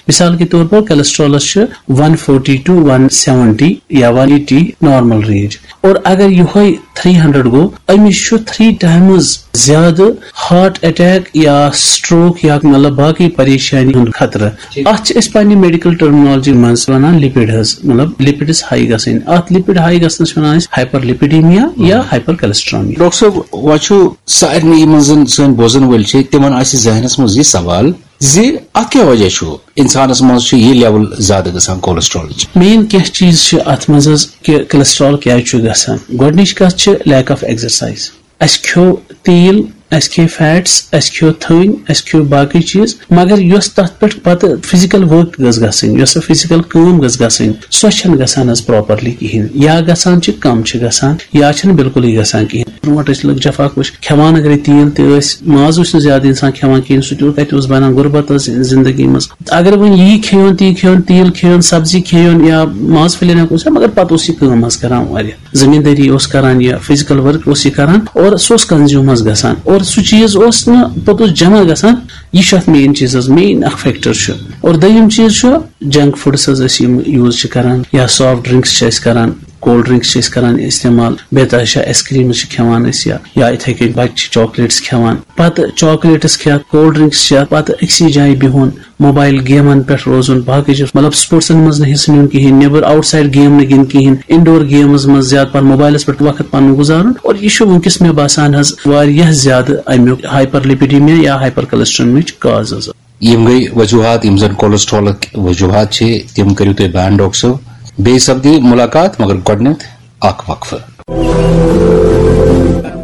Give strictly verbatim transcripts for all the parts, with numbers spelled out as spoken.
مثال کے طور پر کولیسٹرالس چھِ ون فورٹی ٹو ون سیونٹی یا ون ایٹی نارمل رینج، اور اگر یِہوٚے تھری ہنڈریڈ گوٚو، أمِس چھُ تھری ٹائمز زیادٕ ہارٹ اٹیک یا سٹروک یا مطلب باقٕے پریشانی ہُنٛد خطرٕ۔ اتھ چھِ أسۍ پننہِ میڈیکل ٹرمنالوجی منٛز ونان لپڈ حظ، مطلب لپڈس ہائی گژھٕنۍ۔ اتھ لپڈ ہائی گژھنس چھِ ونان أسۍ ہائپر لپیڈیمیا یا ہائپر کولیسٹرامی۔ ڈاکٹر صٲب، وۄنۍ چھُ سارنٕے یِمن زن سٲنۍ بوزن وٲلۍ چھِ، تِمن آسہِ ذہنس منٛز یہِ سوال زِ اتھ کیٛاہ وجہ چھُ انسانس منٛز چھُ یہِ لیول زیادٕ گژھان کولیسٹرالٕچ؟ مین کینٛہہ چیٖز چھِ اتھ منٛز حظ کہِ کولیسٹرال کیٛازِ چھُ گژھان۔ گۄڈٕنِچ کتھ چھِ لیک آف ایکزرسایز۔ اسہِ کھیوٚو تیٖل، اسہِ کھیٚے فیٹس، اسہِ کھیوٚو تھٔنۍ، اسہِ کھیوٚو باقٕے چیٖز، مگر یۄس تتھ پٮ۪ٹھ پتہٕ فزیکل ورک گٔژھ گژھٕنۍ، یۄس سۄ فزیکل کٲم گٔژھ گژھٕنۍ، سۄ چھنہٕ گژھان حظ پراپرلی کِہینۍ، یا گژھان چھِ کم چھِ گژھان، یا چھنہٕ بالکلٕے گژھان کِہینۍ۔ برونٛٹھ ٲسۍ لُکھ جفا کش کھٮ۪وان، اگرے تیٖل تہِ ٲسۍ، ماز اوس نہٕ زیادٕ انسان کھٮ۪وان کِہینۍ، سُہ تہِ کتہِ اوس بنان، غربت ٲس زندگی منٛز۔ اگر وۄنۍ یی کھیٚیون، تی کھیٚیون، تیٖل کھیٚیون، سبزی کھیٚیون یا ماز پھٔلۍ ہنا اوس، مگر پتہٕ اوس یہِ کٲم حظ کران واریاہ۔ زمیٖندٲری اوس کران، یہِ فزیکل ورک اوس یہِ کران، اور سُہ اوس کنزیوم حظ گژھان، اور سُہ چیٖز اوس نہٕ پوٚتُس جمع گژھان۔ یہِ چھُ اتھ مین چیٖز حظ، مین اکھ فیکٹر چھُ۔ اور دوٚیِم چیٖز چھُ جنک فوڈس حظ أسۍ یِم یوٗز چھِ کران، یا سافٹ ڈرنکس چھِ أسۍ کران، کولڈ ڈرنکس چھِ أسۍ کران استعمال، بیٚیہِ تہِ چھِ آیس کریٖمز چھِ کھٮ۪وان أسۍ، یا یا یِتھے کٔنۍ بچہِ چھِ چاکلیٹس کھٮ۪وان، پتہٕ چاکلیٹس کھٮ۪تھ، کولڈ ڈرنکس چٮ۪تھ، پتہٕ أکسٕے جایہِ بِہُن، موبایل گیمن پٮ۪ٹھ روزُن، باقٕے چیٖز، مطلب، سپورٹسن منٛز نہٕ حصہٕ نیُن کِہینۍ، نیبر آؤٹ سائڈ گیم نہٕ گِنٛدٕنۍ کِہینۍ، انڈور گیمز منٛز زیادٕ پہن موبایلس پٮ۪ٹھ وقت پنُن گُزارُن۔ اور یہِ چھُ وٕنکیٚس، مےٚ باسان حظ، واریاہ زیادٕ امیُک ہائپر لپیڈیمیا یا ہائپر کولیسٹرینمچ کاز حظ۔ یِم گٔے وجوہات، یِم زن کولیسٹرالٕکۍ وجوہات چھِ، تِم کٔرِو تُہۍ بیان، ڈاکٹر صٲب۔ بیٚیہِ سپدِ مُلاقات، مگر گۄڈٕنٮ۪تھ اکھ وقفہٕ۔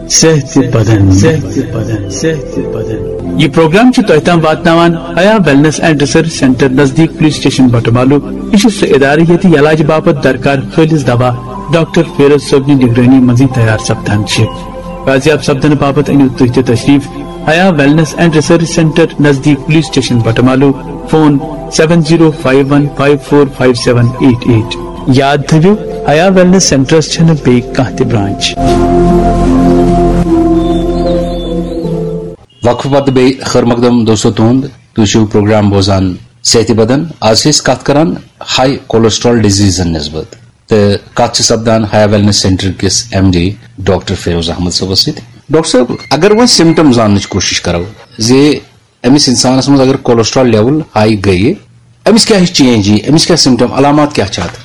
صحت بدن، صحت بدن، صحت بدن۔ یہ پروگرام چھُ تۄہہِ تام واتناوان حیا ویلنس اینڈ ریسرچ سینٹر نزدیک پولیس اسٹیشن بٹمالو۔ یہ چھُ سُہ ادارٕ ییٚتہِ علاج باپتھ درکار خٲلص دوا ڈاکٹر فیروز صٲبنہِ نگرٲنی منٛزٕے تیار سپدان چھِ۔ بازیاب سپدنہٕ باپتھ أنِو تُہۍ تہِ تشریف Haya wellness and research centre نزدیک police station Batmaloo. Phone seven zero five one five four five seven eight eight. یاد تھٲوِو، حیا ویلنس سینٹرس چھنہٕ بیٚیہِ کانٛہہ تہِ برانچ۔ وقفہٕ پتہٕ بیٚیہِ خٲر مقدم دوستو تُہُنٛد۔ تُہۍ چھِو پروگرام بوزان صحتِ بدن۔ آز چھِ أسۍ کتھ کران ہائی کولیسٹرال ڈیزیزن نسبت۔ تہٕ کتھ چھِ سپدان حیا ویلنس سینٹر کِس M D doctor Firoz Ahmad صٲبس سۭتۍ۔ ڈاکٹر صٲب، اگر وۄنۍ سمٹم زاننٕچ کوٗشش کرو زِ أمِس انسانس منٛز اگر کولیسٹرال لیول ہائی گٔیہِ، أمِس کیٛاہ ہِش چینج یی، أمِس کیٛاہ سمٹم، علامات کیٛاہ چھِ اتھ؟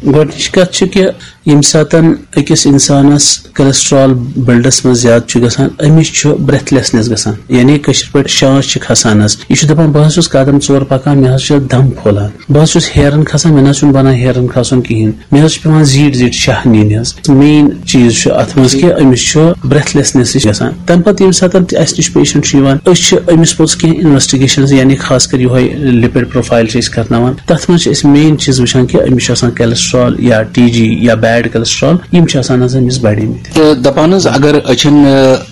گۄڈٕنِچ کتھ چھِ کہِ ییٚمہِ ساتن أکِس انسانس کولیسٹرال بلڈس منٛز زیادٕ چھُ گژھان، أمِس چھُ بریتھلیسنس گژھان، یعنی کٲشِر پٲٹھۍ شانس چھِ کھسان حظ۔ یہِ چھُ دپان، بہٕ حظ چھُس قدم ژور پکان، مےٚ حظ چھِ دم پھۄلان، بہٕ حظ چھُس ہیرن کھسان، مےٚ نہ حظ چھُنہٕ بنان ہیرن کھسُن کِہینۍ، مےٚ حظ چھُ پٮ۪وان زیٖٹھۍ زیٖٹھۍ شاہ نِنۍ حظ۔ مین چیٖز چھُ اتھ منٛز کہِ أمِس چھُ بریتھلیسنس ہِش گژھان۔ تمہِ پتہٕ ییٚمہِ ساتہٕ تہِ اسہِ نِش پیشنٹ چھُ یِوان، أسۍ چھِ أمِس پوٚتُس کینٛہہ انویسٹیگیشنز، یعنی خاص کر یِہوے لپڈ پروفایل چھِ أسۍ کرناوان۔ تتھ منٛز چھِ أسۍ مین چیٖز وٕچھان کہِ أمِس چھُ آسان کولیسٹرال یا ٹی جی یا بیڈ کولیسٹرال، یِم چھِ آسان حظ أمِس بڑیمٕتۍ۔ تہٕ دپان حظ، اگر أچھن،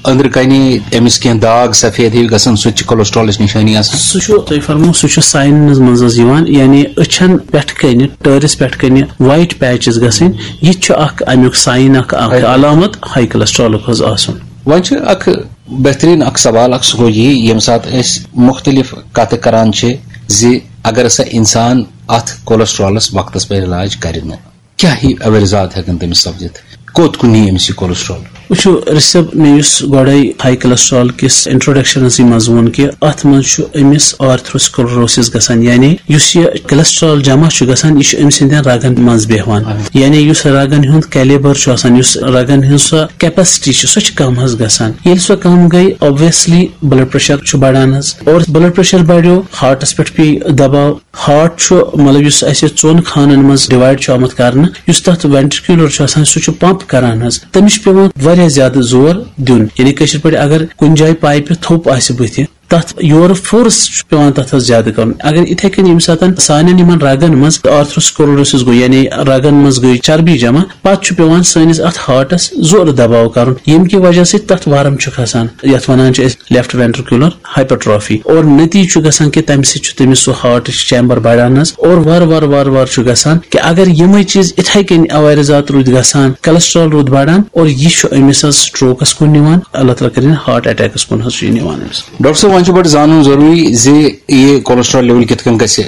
آ، أنٛدرٕ کنہِ أمِس کینٛہہ داغ سفید ہیوٗ گژھان، سُہ تہِ چھُ کولیسٹرالٕچ نِشٲنی آسان؟ سُہ چھُ، تۄہہِ فرمو، سُہ چھُ ساینن منٛز حظ یِوان، یعنی أچھن پٮ۪ٹھ کنہِ، ٹٲرِس پٮ۪ٹھ کنہِ وائٹ پیچز گژھٕنۍ، یہِ تہِ چھُ اکھ امیُک ساین، اکھ، اکھ ہائی۔ علامت ہائی کولیسٹرالُک حظ آسُن۔ وۄنۍ چھِ اکھ بہترین اکھ سوال اکھ، سُہ گوٚو یی، ییٚمہِ ساتہٕ أسۍ مختلف کتھٕ کران چھِ زِ اگر ہسا انسان اتھ کولیسٹرالس وقتس پٮ۪ٹھ علاج کرِ نہٕ، کیٛاہ ہی عوٲرضات ہٮ۪کن تٔمِس سپدِتھ؟ کوٚت کُن نی أمِس یہِ کولیسٹرال؟ وٕچھِو رشب، مےٚ یُس گۄڈے ہائی کولیسٹرال کِس انٹروڈکشنس منٛز ووٚن کہِ اتھ منٛز چھُ أمِس آرتھروسکلروسس گژھان، یعنی یُس یہِ کولیسٹرال جمع چھُ گژھان، یہِ چھُ أمۍ سٕنٛدٮ۪ن رگن منٛز بیہوان۔ اہن۔ یعنی یُس رگن ہُنٛد کیلیبر چھُ آسان، یُس رگن ہٕنٛز سۄ کیپیسٹی چھِ، سۄ چھِ کم حظ گژھان۔ ییٚلہِ سۄ کم گٔے، obviously blood pressure چھُ بڑان حظ، اور blood pressure بڑیو، ہارٹس پٮ۪ٹھ پیٚیہِ دباو۔ ہارٹ چھُ، مطلب، یُس اسہِ ژۄن خانن منٛز ڈیوائڈ چھُ آمُت کرنہٕ، یُس تتھ وینٹریکیولر چھُ آسان، سُہ چھُ پمپ کران حظ، تٔمِس چھُ پٮ۪وان واریاہ زیادٕ زور دیُن۔ یعنی کٲشِر پٲٹھۍ اگر کُنہِ جایہِ پایپہِ تھوٚپ آسہِ بٕتھِ، تَتھ یورٕ فورس چھُ پٮ۪وان تَتھ حظ زیادٕ کَرُن۔ اگر یِتھَے کٔنۍ ییٚمہِ ساتَن سانٮ۪ن یِمَن رَگَن منٛز آرتھروسکلروسِس گوٚو، یعنی رَگَن منٛز گٔے چربی جمع، پَتہٕ چھُ پٮ۪وان سٲنِس اَتھ ہارٹَس زورٕ دباو کَرُن، ییٚمہِ کہِ وجہ سۭتۍ تَتھ ورم چھُ کھسان، یَتھ وَنان چھِ أسۍ لیفٹ وینٹریکولر ہائپرٹرافی۔ اور نتیجہٕ چھُ گژھان کہِ تَمہِ سۭتۍ چھُ تٔمِس سُہ ہارٹٕچ چیمبر بڑان حظ، اور وارٕ وارٕ وارٕ وارٕ چھُ گژھان کہِ اگر یِمَے چیٖز یِتھَے کٔنۍ عوارضات روٗدۍ گژھان، کولیسٹرال روٗد بڑان، اور یہِ چھُ أمِس حظ سٹروکَس کُن نِوان، اللہ تعالیٰ کٔرِنۍ ہارٹ اٹیکَس کُن حظ چھُ یہِ نِوان أمِس۔ ڈاکٹر صٲب، وۄنۍ چھُ بڑٕ زانُن ضروٗری زِ یہِ کولیسٹرال لیول کِتھ کٔنۍ گژھِ